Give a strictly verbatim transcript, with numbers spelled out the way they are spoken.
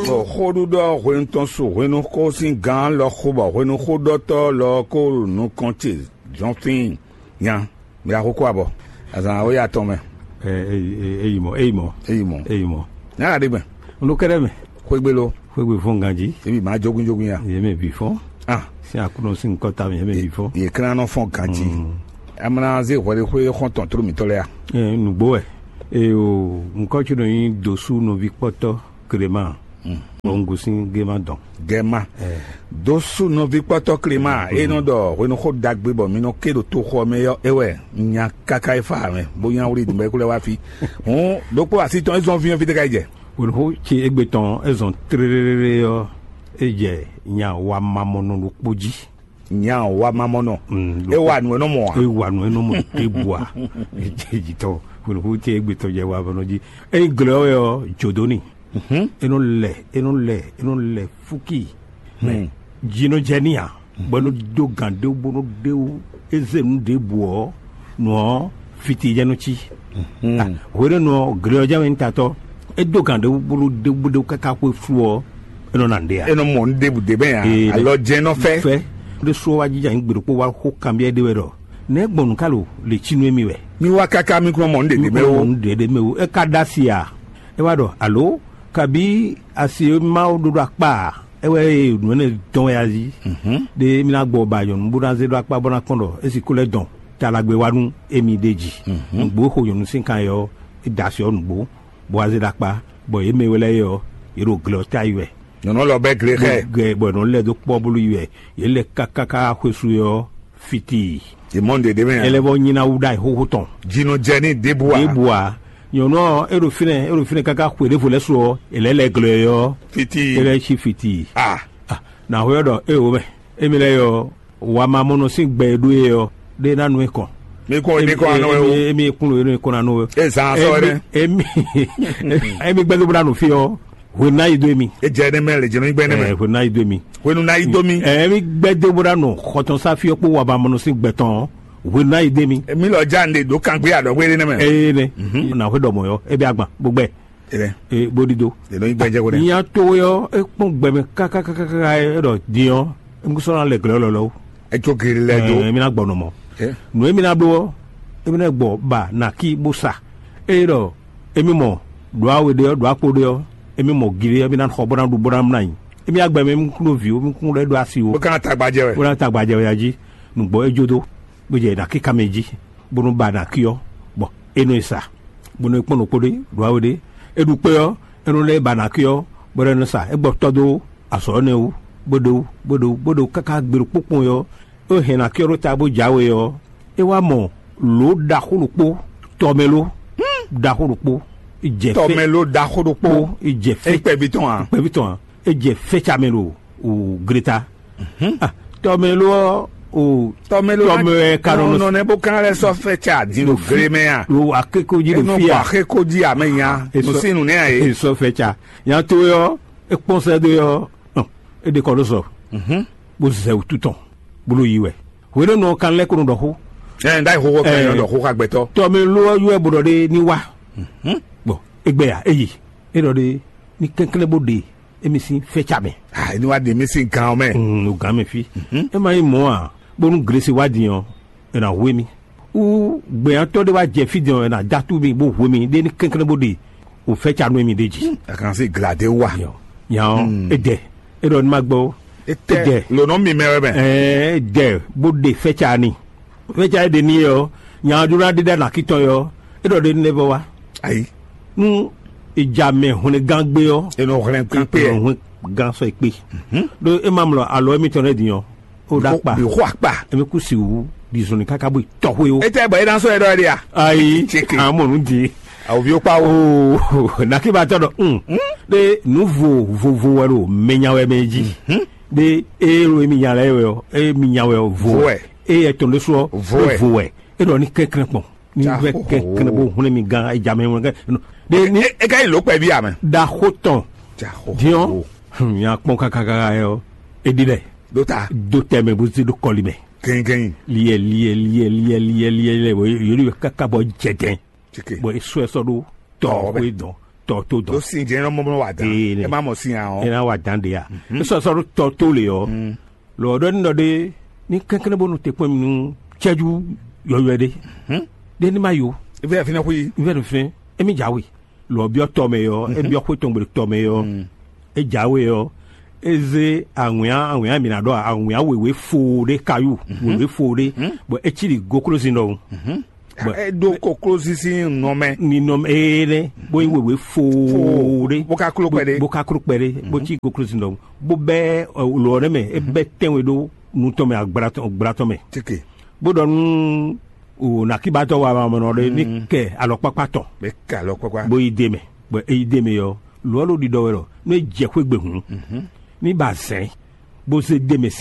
Xóɖuɖɔ hwenu tɔn su hwenuxó sín gǎn lɔ xo bɔ hwenuxóɖɔtɔ́ lɔ ko ɖo nukɔn ce jɔ́n fíin. Nya, mi ɖo axókó abɔ. Azǎn awe atɔn mɛ. Ɛ, eyi mɔ, eyi mɔ, Eyi mɔ. Eyi mɔ. Nyá ɖe gbɛn. Un ɖo kɛɖɛ mɛ. Xwégbé lo. Xwégbé fɔ́n ganjí. Ebi ma jógúnjógún ya. Yě mɛ bǐ fɔ́n. Ah. Sín Aklúnɔ sín kɔta mɛ, yě mɛ bǐ fɔ́n. Yě klán nɔ fɔ́n ganjí. Amina zé hwɛɖexwé xɔ́ntɔn tló mǐtɔn lɛ́ɛ a? Ɛ, nǔgbó wɛ. Eye o, nǔkɔ ce nɔ nyí dǒsú nɔví kpɔ́tɔ́ Klema. Bɔ un gosín Gema dɔn. Gɛma. Dǒsú nɔví kpɔ́tɔ́ Klema, e nɔ ɖɔ hwenuxó ɖagbe bɔ mi nɔ ké ɖo toxo ɔ́ mɛ ɔ́, é wɛ un nya káká e fa mɛ, bó nya wlí dùnbɛ́ kú lɛ́ wá fí. Hǔn ɖokpó así tɔn é zɔ́n fí ɔ́ fí tɛ́ ká yi jɛ? Hwenuxó ce égbé tɔn é zɔn tlélélé ɔ́, é jɛ nya wamamɔnɔ ɖokpó jí. Nya wamamɔnɔ. Mm, é wa nǔ e nɔ mɔ a? É wa nǔ e nɔ mɔ ɖěbǔ a? Jitɔ, hwenuxó ce égbé tɔn jɛ wamamɔnɔ jí. Ényí glɔ́ wɛ ɔ́, jǒdó ni. É nɔ lɛ, é nɔ lɛ, é nɔ lɛ fúki. Mɛ jinɔ jɛ ní a, bɔ é nɔ dó gǎn ɖé bó nɔ ɖé wú, é zé nǔ ɖěbǔ ɔ́, nǔ ɔ́ fiti jɛ nɔ cí. Hwenɛ́nu ɔ́, gle ɔ́ jɛ wɛ nyí tatɔ́. É dó gǎn ɖé bó nɔ ɖé wú káká xwé flu ɔ́, é nɔ ná nǔɖé a? É nɔ mɔ nǔ ɖěbǔ ɖé mɛ a? Ee, alɔ jɛ́n nɔ fɛ. Fɛ. Ɖé sú ɔ́ wá jija nyí gbe ɖokpó wá xó kanbyɔ́ ɖé wɛ ɖɔ: "Nɛ̌ gbɔn nǔ ka lo lě cí nú émí wɛ?" Mi wá káká mi kún mɔ nǔ ɖě ɖě mɛ ó. Nǔ ɖě ɖě mɛ ó. É ka ɖó asi a? É wá ɖɔ: "Alo, kabi asi e Mawu ɖó ɖo akpá a? É wɛ e nǔ énɛ́ dɔn wɛ a jí. Ɖé émí ná gbɔ ba nyɔ̌nu bó ná zé ɖó akpá bó ná kpɔ́n ɖɔ é sixú lɛ́ dɔn talagbe wá nú émí ɖ'é jí. Nǔgbó e xo nyɔ̌nu sín kan é ɔ́, é da asi ɔ́ nǔgbó, bó wá zé ɖó akpá, bɔ yě mɛ we lɛ́ɛ é ɔ́, yě ɖo gle ɔ́ ta yi wɛ." Nyɔ̌nu lɔ bɛ́ gle xɛ. Bɔ è nɔ lɛ́ dó kpɔ́ bló yi wɛ. Yě lɛ káká xwesú é ɔ́, fiti. Yě mɔ nǔɖé ɖé mɛ a? Ɛ lɛ́ vɔ nyi ná wú ɖ'ayǐ xóxó tɔn. Jinɔ jɛ ní ɖěbǔ a? Ɖěbǔ a? Nyɔ̌nu ɔ́, é ɖo fínɛ́, é ɖo fínɛ́ káká xwe ɖěvo lɛ́ɛ su ɔ́, è lɛ̌ lɛ glɔ́ ɛ ɔ́. Fiti. É lɛ́ cí fiti. Ah. Ah, nǎ hwɛ ɔ́ ɖɔ éwo mɛ. Émi lɛ́ɛ ɔ́, wamamɔnɔ sín gbɛ e ɖó e ɔ́, ɖé ná nú é kɔn. Mi kɔn, mi kɔn anɔ wɛ o. Émi kún lo e nú é kɔn ná nú we. E zan sɔ wɛ dɛ. Émi émi gbɛdó bó ná nù fí ɔ́, hwenu ná yi dó émi. E jɛ ne mɛ le jɛnɛ gbɛ ne mɛ. Hwenu ná yi dó émi. Hwenu ná yi dó mi. Émi gbɛdó bó ná nù xɔtɔn sáfí ɔ́ kpó wamamɔnɔ sín gbɛ tɔn ɔ́, hwenu ná yi dó émi. Mi lɔ ja ne ɖo kangbé adɔgbe ne mɛ. Eye ne. Na hwe ɖɔ mɔ yɔ, e bɛ agban bó gbɛ. Ere. E bó ɖi dó. Eno yi gbɛjɛ ko dɛ. Nya to we ɔ́, é kpɔ́n gbɛ mɛ kákákákáká, é ɖɔ din ɔ́, é mú sɔ́ ná lɛ glɔ̌ lɔlɔ̌. Etsó geri lɛ dó. Ɛ, mi ná gbɔ nɔ mɔ. Ɛ. Nǔ e mi ná bló ɔ́, é mi ná gbɔ ba nǎ kí bó sa. Ée ɖɔ émí mɔ ɖǒ awe ɖé ɔ́, ɖǒ akpo ɖé ɔ́, émí mɔ gilé ɔ́, mí ná xɔ bó ná ɖu bó ná mlá nyi. Émí agbɛ mɛ mí kún ɖó vǐ ó, mí kún ɖó ɖó asi ó. Bó ka ná tagba jɛ wɛ. Bó ná tagba jɛ wɛ ya jí. Nǔgbó é jó dó, bó jɛ nǎ kíká mɛ jí, bónú ba nǎ kí ɔ́, bɔ é nɔ e sa, bónú é kpɔ́n ɖokpó ɖé ɖo awe ɖé. É ɖu kpé ɔ́, é nɔ lɛ́ ba nǎ kí ɔ́, bó lɛ́ nɔ sa, é gbɔ tɔ́ dó azɔ̌ énɛ́ wú, bó ɖó, bó ɖó, bó ɖó káká gbe ɖokpó kpɔn ɔ́, é hɛn nǎ kí ɔ́ ɖó ta bó jǎwe ɔ́, é wá mɔ lǒ ɖaxó ɖokpó, tɔmɛló ɖaxó ɖokpó, jɛ fɛ tɔmɛló ɖaxó ɖokpó. Kpó, jɛ fɛ é kpɛví tɔn a? Kpɛví tɔn a? É jɛ fɛ́ ca mɛ ɖo o gleta. Ah, tɔmɛló ɔ́, o tɔmɛló tɔmɛ ɛ ka nɔ nɔ nɛ bó kan lɛ sɔ fɛ tsa di no glemɛ a? Lo akéko jí ɖo Enɔ fi bɔ a? Akéko jí amɛ nya. Esɔ- Nusinu nɛ a ye. Esɔ fɛ tsa. Nya to yɔ, ekpɔn sɛ do yɔ, hɔn, e ɖe kɔ ɖo sɔ. Bó zɛ wútu tɔn, bó ló yi wɛ. Hwenu nɔ kan lɛ ko nɔ ɖɔ xó. Ɛ n da yi xóxó kan yɔ ɖɔ xó xa gbɛtɔ. Tɔmɛló ɔ́ yɔ ɛ bó ɖɔ ɖe ní wá. Bɔn egbɛ ya, eyi, e ɖɔ ɖe ní kɛnklɛn bó ɖe émi sín fɛ́ ca mɛ. Ah, ní wá ɖe mí sín gan ɔ́ mɛ. Mm, o gǎn mɛ fí. É ma nyí mɔ̌ ǎ, bónú Glesi wá din ɔ́, è nǎ hu émí. Wú gbɛ̌nyátɔ́ ɖé wá jɛ fí din ɔ́, è nǎ dó atú mì bó hu émí ɖé ní kɛnklɛ́n bó ɖe o fɛ́ ca nú émí ɖé jí. A kan sí glade wa. Yɔ. Nya ɔ́, é dɛ. É ɖɔ ní ma gbɔ ó. É tɛ lǒnɔ mi mɛ wɛ mɛ. Ɛɛ, é dɛ bó ɖe fɛ́ ca ni. Fɛ́ ca é ɖe n'i ɔ́, nya ɔ́ jló ná ɖe ɖa nǎ kí tɔn ɔ́, é ɖɔ ɖe ní lɛ́ vɔ wá. Ayi. Nú ìjà mɛ hwlɛngán gbé ɔ́, Enɔ hwlɛn kpíkpé ɛ. Hwlɛngán sɔ ikpé. Ɖó é ma mlɔ alɔ émítɔn lɛ́ɛ din ɔ́, ó ɖó akpa. Bì xɔ akpa. Émí kú si wú ɖi zɔnlin káká bó yi tɔxwé ó. Etɛ bɔ é ná sɔ ɛ ɖɔ ɛ ɖe a? Ayi. Tseke. Amɔ nǔ di. Awòvi ó kpa ó. Oo, nàkíbatɔ ɖɔ un. Ɖe nǔ vo vovo wɛ ɖo mɛ nya wɛ mɛ jí. Ɖe eye ɖo émí nya lɛ wɛ ɔ, émí nya wɛ ɔ vo. Vo wɛ. Eye ɛtɔn ɖé sú ɔ, Vo wɛ. Vo wɛ. E ɖɔ ní kɛnklɛn kpɔn, ní vɛ kɛnklɛn bó hun mi gán, e ja mɛ wọn kɛ. Ɖe ní e ka yi lǒ kpɛví amɛ. Ɖaxó tɔn. Diɔn, nya kpɔn kakaka yɔ, e ɖi lɛ. Ɖó ta. Do tɛ mɛ bó ti ɖo kɔli mɛ. Gɛngɛn. Liɛ liɛ liɛ liɛ liɛ liɛ liɛ, bɔ yori bɛ kaka bɔ jɛdɛn. Bɔ e sɔ ɛ sɔ ɖo tɔ ko e dɔn. tɔ tó dɔn. Ló sin jẹ́ ẹran mọ́mọ́ wà dán. Ee, ne. Ẹ má mọ̀ sin àwọn. Ẹ ná wà dán de ya. Sɔsɔ ɖo tɔ tó le ɔ. Lɔ ɖɔ ní ɖɔ ɖe ní kɛnkɛn bó nu te kpɔn mi nú cɛju yɔyɔɛ ɖe. Ɖe ní ma yo. Ife yà fi náà kú yìí. N fẹ́ nu fɛn. Emi jawe. Lɔ biɔ tɔ mɛ yɔ. E biɔ xwe tɔn gbele tɔ mɛ yɔ. E jawe yɔ. E ze awǐnyan awǐnyan mi na ɖɔ awǐnyan wewe fo ɖe kayu. Wewe fo ɖe. Bɔn e ci ɖi goklosin ɖɔhun. Bɔn E ɖo koklósín sín nɔ mɛ. Ninɔmɛ ee nɛ, bó yi wewe foo ɖé. Bó ka kló kpɛɖé. Bó ka kló kpɛɖé, bó cí koklósín ɖɔhun, bó bɛ́ lɔ ɔ́ nɛ mɛ, é bɛ́ tɛ́nwe ɖó nu tɔn mɛ, agbla tɔn agbla tɔn mɛ. Tike. Bó ɖɔ nú o nàkíbatɔ wa ma mɔnɔ ɖé ní kɛ alɔkpákpá tɔn. Bɛ ka alɔ kpakpa. Bó yi dé mɛ, bɔ é yi dé mɛ ɔ́, lɔ ɔ́ ɖo ɖiɖɔ wɛ lɔ, nú é jɛ xwé gbe hǔn, ní ba zɛ̌n, bó zé dé mɛ sín.